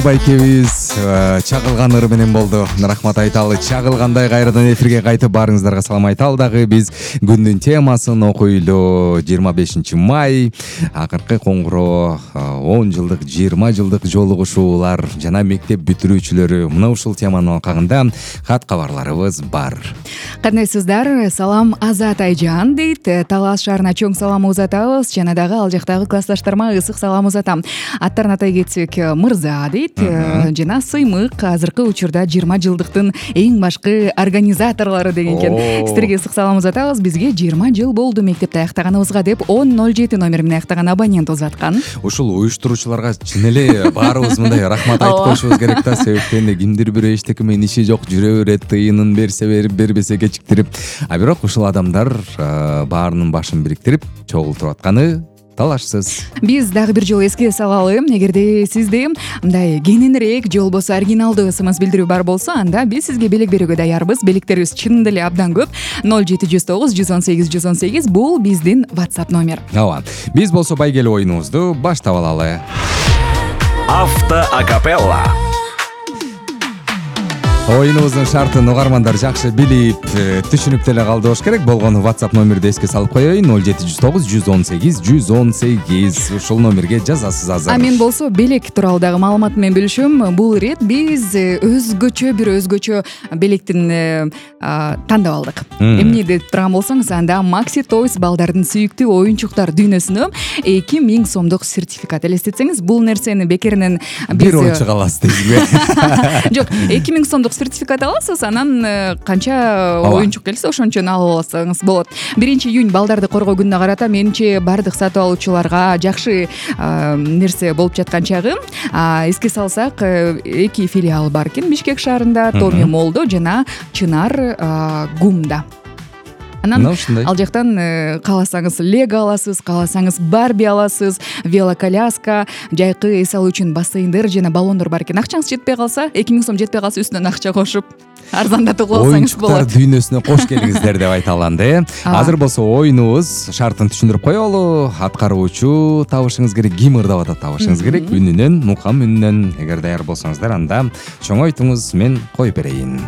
Байкебиз чагылган ыр менен болду. Рахмат айталы. Чагылгандай кайрадан эфирге кайтып баарыңыздарга салам айталы дагы. Биз күндүн темасын окуйлу. 25 май акыркы коңгуроо 10 жылдык, 20 жылдык жолугушуулар жана мектеп бүтүрүүчүлөрү. Мына ушул теманын алкагында кат кабарларыбыз бар. Кандайсыздар? Салам Азат Айжан дейт. Талас шаарына чоң салам узатабыз. Жана дагы ал жактагы классташтарыма ысык салам узатам. Аттарын атай кетсек, Мырза дейт. Жана Сыймык азыркы учурда 20 жылдыктын эң башкы организаторлору деген экен. Сиздерге ысык салам узатабыз. Бизге 20 жыл болду мектепти аяктаганыбызга деп 1007 номер менен аяктаган абонент узаткан. Ушул уюштуруучуларга чын эле баарыбыз мындай рахмат айтып коюшубуз керек да. Себептен кимдир бирөө эчтеке менен иши жок, жүрө берет, тыйынын берсе берип, бербесе кечиктирип. А бирок ушул адамдар баарынын башын бириктирип чогултуруп атканы талашсыз. Биз дагы бир жолу эске салалы. Эгерде сизде мындай кененирээк же болбосо оригиналдуу ысымыз билдирүү бар болсо, анда биз сизге белек берүүгө даярбыз. Белектерибиз чынында эле абдан көп. 0709 118 118 бул биздин WhatsApp номер. Ооба. Биз болсо байгеле оюнубузду баштап алалы. Авто акапелла. Оюнубуздун шартын угармандар жакшы билип, түшүнүп деле калды болуш керек. Болгону WhatsApp номерди эске салып коеюн. 0709 118 118. Ушул номерге жазасыз азыр. А мен болсо белек тууралуу дагы маалымат менен бөлүшөм. Бул ирет биз өзгөчө белектин тандап алдык. Эмне деп турган болсоңуз, анда Maxi Toys балдардын сүйүктүү оюнчуктар дүйнөсүнө 2000 сомдук сертификат. Элестетсеңиз, бул нерсени бекеринен биз бир ойчук аласыз дейсизби? Жок, 2000 сомдук сертификат аласыз, анан канча оюнчук келсе ошончон алып алсаңыз болот. 1-июнь балдарды коргоо күнүнө карата менимче бардык сатып алуучуларга жакшы нерсе болуп жаткан чагы. Эске салсак, 2 филиалы бар экен Бишкек шаарында, Томи Молдо жана Чынар Гумда. Анан ал жактан кааласаңыз Лего аласыз, кааласаңыз Барби аласыз, велоколяска, жайкы эс алуу үчүн бассейндер жана баллондор бар экен. Акчаңыз жетпей калса, 2000 сом жетпей калса үстүнөн акча кошуп арзандатып алсаңыз болот. Оюнчуктар дүйнөсүнө кош келиңиздер деп айталы анда. Азыр болсо оюнубуз шартын түшүндүрүп коелу. Аткаруучу табышыңыз керек, ким ырдап атат табышыңыз керек. Үнүнөн, мукам үнүнөн. Эгер даяр болсоңуздар, анда чоңойтуңуз, мен коюп берейин.